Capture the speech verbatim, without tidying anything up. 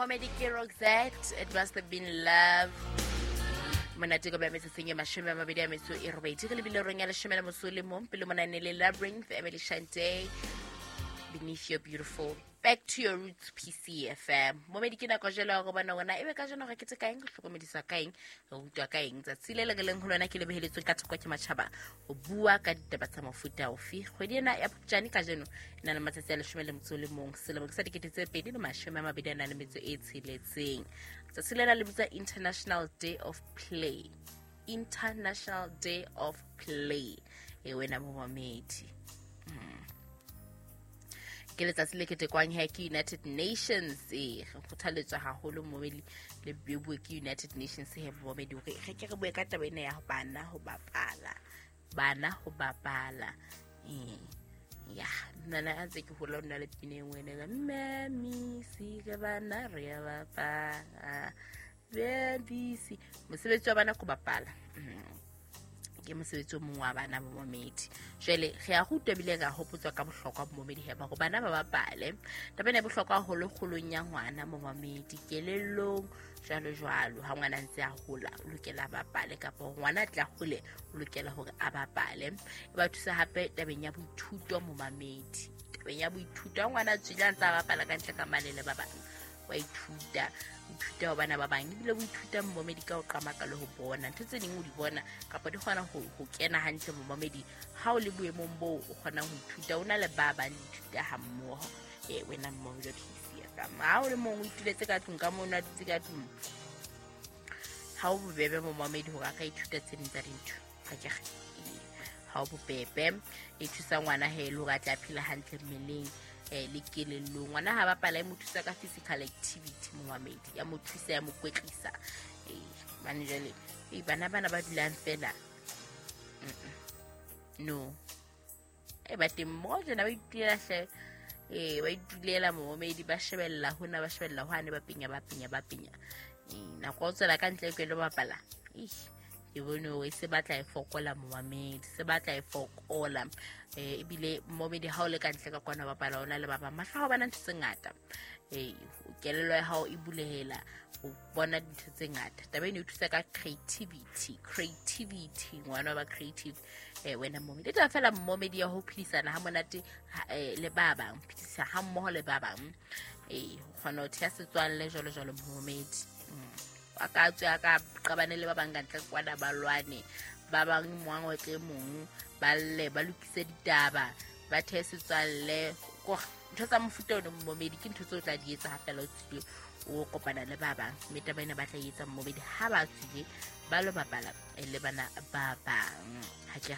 Momedi ke Roxette, It Must Have Been Love. Monate ko ba metsotsong e mashome a mabedi a metso e robedi re lebile rong ya leshome le motso o le mong pele monane le Labyrinth, Emily Shante, Beneath Your Beautiful. Back to your roots, P C F M. Momedi ke nako jwale ya go bona gona ebe ka jeno ga ke tse kaeng, re hlokomedisa ka eng, re rutwa ka eng. Tsatsi le le re leng ho lona ke le beheletsweng ka thoko ke matjhaba ho bua ka ditaba tsa mofuta ofe. Kgwedi ena ya Phupjane kajeno e na le matsatsi a leshome le motso o le mong selemo ke sa dikete tse pedi le mashome a mabedi a nang le metso e tsheletseng. Tsatsi lena le bitswa International Day of Play. International Day of Play. E wena momedi. Mm. Ke letsatsi le ketekwang he ke United Nations. E re kgothaletswa haholo momedi le bue ke United Nations he momedi hore re ke re bue ka taba ena ya bana ho bapala. Bana ho bapala. Eh ya nna na ntse ke hola nna le pina e nngwe ene ka mme si ke bana re ya bapala. Bebisi mosebetsi wa bana ko bapala. Mm. Ke mosebetsi o mongwe wa bana bo momedi. Jwale re a rutwa ebile re a hopotswa ka bohlokwa bo momedi he ba hore bana ba bapale. Taba ena e bohlokwa haholo kgolong ya ngwana mo momedi, kelellong jwalo jwalo. Ha ngwana a ntse a hola o lokela a bapale, kapa hore ngwana a tla hole o lokela hore a bapale. E ba thusa hape tabeng ya boithuto mo mamedi. Tabeng ya boithuto ha ngwana a tswile a ntse a bapala ka ntle ka mane le ba bang, wa ithuta. Ithuta ho bana ba bang, ebile o ithuta momedi ka ho qamaka le ho bona ntho tse ding o di bona kapa di kgona ho, ho kena hantle mo momedi. Ha o le boemong boo o kgonang ho ithuta o na le ba bang le ithuta ha mmoho. Eh wena momedi wa P C F M, ha o le mong o ituletse ka tlung ka mono, a dutse ka tlung, ha o bobebe mo momedi hore a ka ithuta tse ding tsa dintho. Ha ke re ha o bobebe. E thusa ngwana he le hore a tla phela hantle mmeleng eh le kelellong. Ngwana ha bapala e mo thusa ka physical activity momamedi, ya mo thusa ya mo kwetlisa. Eh bane jwale eh bana bana ba dulang fela no e ba teng mo jena ba itulela hle, eh ba itulela momamedi, ba shebella hona ba shebella hwane, ba pinya ba pinya ba pinya. Eh nako o tswela ka ntle ke lo bapala, eh ke bone hore se batla e fokola momamedi, se batla e fokola. Eh ebile momedi ha o le ka ntle ka kwana bapala ona le ba bang, mahlo a bana ntho tse ngata. Eh kelello ya hao e bulehela o bona dintho tse ngata. Taba ena e thusa ka creativity, creativity ngwana ba creative. Eh wena momedi e taba fela momedi ya ho phedisana ha monate le ba bang, phedisa ha mmoho le ba bang. Eh o kgona ho theha setswalle jwalo jwalo momedi. A ka tswe a ka qabane le ba bang ka ntle kwana ba lwane, ba bang moang o tle mong ba lle ba lokise ditaba ba thehe setswalle. Ntho tsa mofuta ono momedi ke ntho tseo o tla di etsa ha fela o tswile o kopana le ba bang. Mme taba ena ba tla etsa momedi ha ba tswile ba lo bapala le bana ba bang. Ha ke